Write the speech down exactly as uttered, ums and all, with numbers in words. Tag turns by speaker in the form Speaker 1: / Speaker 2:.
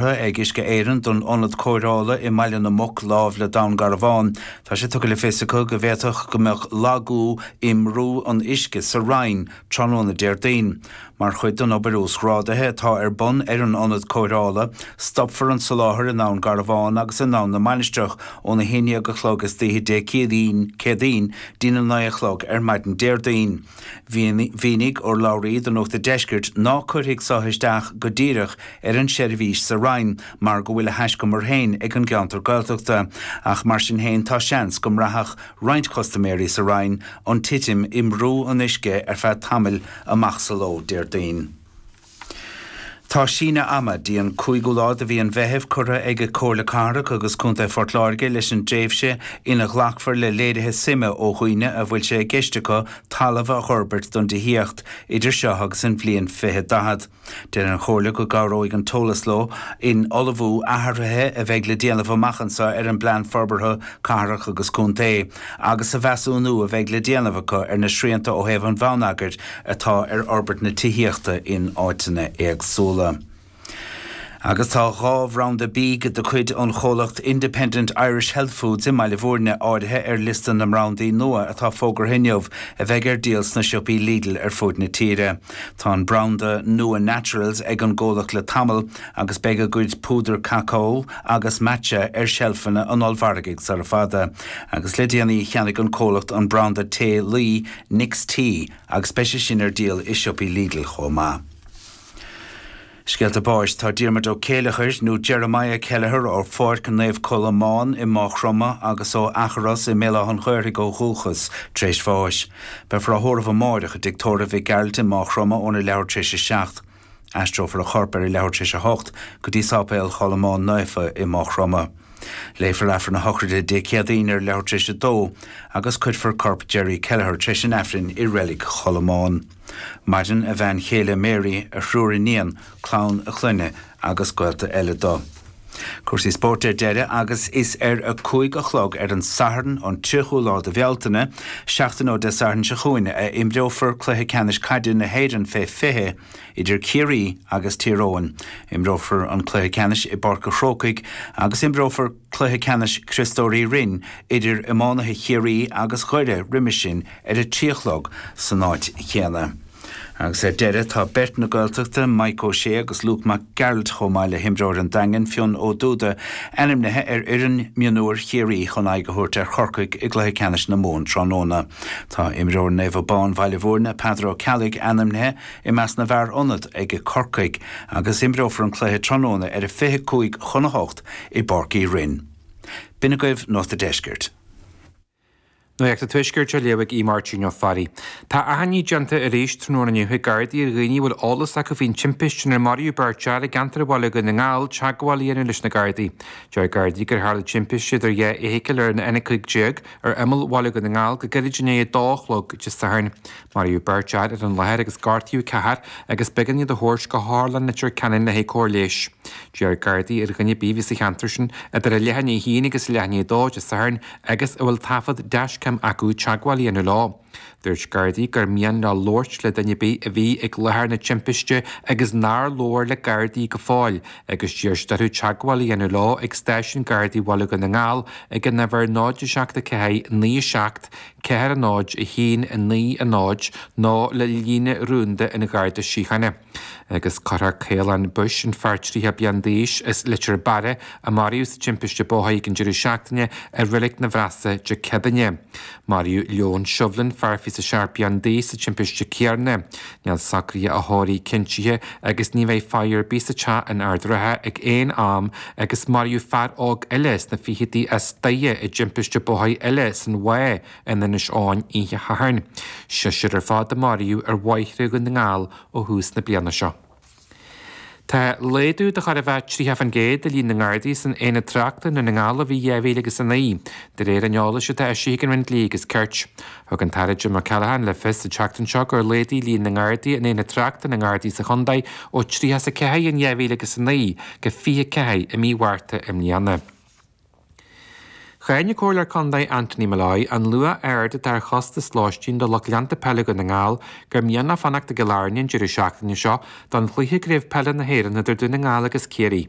Speaker 1: Ag Uisce Éireann don ionad cóireála i mBaile na Muc láimh le Dún Garbhán. Tá sé tugtha le fios acu go bhféadfadh go mbeadh lagú i mbrú an uisce sa Rinn tráthnóna Déardaoin. Mar chuid den obair uasghrádaithe atá ar bun ar an ionad cóireála, stopfar an soláthar in Abhainn Garbhán agus in Abhainn na Mainistreach óna haon déag a chlog istoíche Dé Céadaoin Céadaoin dtína naoi a chlog ar maidin Déardaoin. Mhínigh urlabhraí do Nuacht an Deiscirt ná cuirfidh seo isteach go díreach ar an seirbhís sa Rinn mar go bhfuil a thaiscumar féin ag an gceantar Gaeltachta, ach mar sin féin tá seans go mbraithfeadh roinnt custaiméirí sa Rinn an titim i mbrú an uisce ar feadh tamaill amach sa ló Déardaoin. Tá síneadh ama dtí an cúigiú lá de mhí an Mheithimh curtha ag Comhairle Cathrach agus Contae Phort Láirge leis an dtréimhse ina ghlacfar le léirithe suime ó dhaoine a bhfuil sé i gceist acu talamh a fhorbairt don tithíocht idir seo agus an bhliain fiche daichead. Deir an Chomhairle go gcabhróidh an t-eolas leo in ullmhú athruithe a bheidh le déanamh amach anseo ar an bPlean Forbartha Cathrach agus Contae agus sa mheasúnú a bheidh le déanamh acu ar na srianta ó thaobh an bhonneagair atá ar fhorbairt na tithíochta in áiteanna éagsúla. Agus tá dhá bhranda bídh de chuid an chomhlacht Independent Irish Health Foods i mBaile Bhúirne áirithe ar liosta na mbrandaí nua atá fógartha inniu a bheidh ar díol sna siopaí Lidl ar fud na tíre. Tá an branda nua Naturals ag an gcomhlacht le tamall agus beidh a gcuid púdar cacao agus matcha ar seilfeanna an ollmhargaidh sara fada. Agus le déanaí cheannaigh an comhlacht an branda tae luí Nick's Tea agus beidh sé sin ar díol i siopaí Lidl chomh maith. Scéalta báis tá Diarmuid Ó Céileachair nó Jeremiah Kelleher ó Pháirc Naomh Colmán i Maigh Chromtha agus ó Eachros i mBéal Átha an Ghaorthaidh ó dhúchas tar éis bháis. Beifear á thórramh amárach i dtigh tórraimh Mhic Gearailt i Maigh Chromtha óna leathuair tar éis a seacht. Aistreofar a chorp ar a leathuair tar éis a hocht go dtí Sáipéal Cholmáin Naofa i Maigh Chromtha. Léifear Aifreann na sochraide Dé Céadaoin ar leathuair tar éis a dó agus cuirfear corp Jerry Kelleher tar éis an Aifrinn i Reilig Cholmáin. Maireann a bhean chéile Mary, a thriúr iníon, clann a clainne agus gaolta eile dó. Cúrsaí spóirt ar deireadh agus is ar a cúig a chlog ar an Satharn an tríochú lá de Bhealtaine, seachtain ó Dé Sathairn seo chugainn a imreofar cluiche ceannais caide na hÉireann fé fiche idir Ciarraí agus Tír Eoghain. Imreofar an cluiche ceannais i bPáirc an Chrócaigh agus imreofar cluiche ceannais Chriostóir Uí Rinn idir iománaithe Chiarraí agus Dhoire roimhe sin ar a trí a chlog san áit chéanna. Agus ar deireadh tá beirt na Gaeltachta, Mike O'Shea agus Luke Mac Gearailt chomh maith le himreoir an Daingin Fionn Ó Dúda, ainmnithe ar fhoireann mionúir Chiarraí chun aghaidh a thabhairt ar Chorcaigh i gcluiche ceannais na Mumhan tráthnóna. Tá imreoir Naomh Abán Bhaile Bhúirne, Peadar Ó Ceallaigh ainmnithe i measc na bhfear ionad ag Corcaigh agus imreofar an cluiche tráthnóna ar a fiche cúig chun a hocht i bPáirc Uí Rinn. B'in agaibh Nuacht an Deiscirt.
Speaker 2: Nuacht an Tuaiscirt á léamh ag Máirtín Ó Fearraigh. Tá achainí déanta arís tráthnóna inniu ag Gardaí ar dhaoine a bhfuil eolas acu faoin timpiste inar maraíodh beirt fhear i gceantar Bhaile Dhún na nGall teagmháil a dhéanamh leis na Gardaí. Deir Gardaí gur tharla timpiste idir dhá fheithicil ar an N a cúig déag ar imeall Bhaile Dhún na nGall go gairid i ndiaidh a dó a chlog Dé Sathairn. Maraíodh beirt fhear ar an láthair agus gortaíodh ceathrar agus b'éigean iad a thabhairt go hOtharlann Leitir Ceanainn le haghaidh cóir leighis. D'iarr Gardaí ar dhuine ar bith a bhí sa cheantar sin idir a leath i ndiaidh a haon agus a leath i ndiaidh a dó Dé Sathairn agus a bhfuil taifead dashcam acu teagmháil a dhéanamh leo. Dúirt Gardaí gur mian leo labhairt le duine ar bith a bhí ag láthair na timpiste agus nár labhair le Gardaí go fóill agus d'iarr siad orthu teagmháil a dhéanamh leo ag stáisiún Gardaí Bhaile Dhún na nGall ag an uimhir náid a seacht a ceathair naoi a seacht ceathair a náid a haon a naoi a náid nó le líne rúnda an Gharda Síochána. Agus cuirfear Caolán Bush an fear tríocha bliain d'aois as Leitir Beara a maraíodh sa timpiste bóthair ag an deireadh seachtaine i Reilig na Bhreasa Dé Céadaoine. Maraíodh Leon Shovlin fear fiche seacht bliain d'aois sa timpiste céanna. Níl socruithe a thórraimh cinntithe agus ní bheidh faire ar bith sa teach in Ard an Rátha ag aon am agus maraíodh fear óg eile sna fichidí as Doire i dtimpiste bóthair eile san Mhaigh in Inis Eoghain oíche Shathairn. Seisear ar fad a maraíodh ar bhóithre Dhún na nGall ó thús na bliana seo. Tá laghdú de chóir a bheith tríocha faoin gcéad i líon na nGardaí san Aonad Tráchta i nDún na nGall ó bhí dhá mhíle agus a naoi, de réir an eolais atá eisithe ag an Roinn Dlí agus Cirt. Thug an tAire Jim O'Callaghan le fios sa tseachtain seo gur laghdaigh líon na nGardaí in Aonad Tráchta na nGardaí sa chontae ó tríocha is a ceathair in dhá mhíle agus a naoi go fiche ceathair i mí Mhárta i mbliana. Cháin an Comhairleoir Contae Anthony Molloy an luach ard atá ar chostas lóistín do lucht leanta peile Dhún na nGall gur mian leo fanacht i gCill Airne an deireadh seachtaine seo don chluiche i gCraobh Peile na hÉireann idir Dún na nGall agus Ciarraí.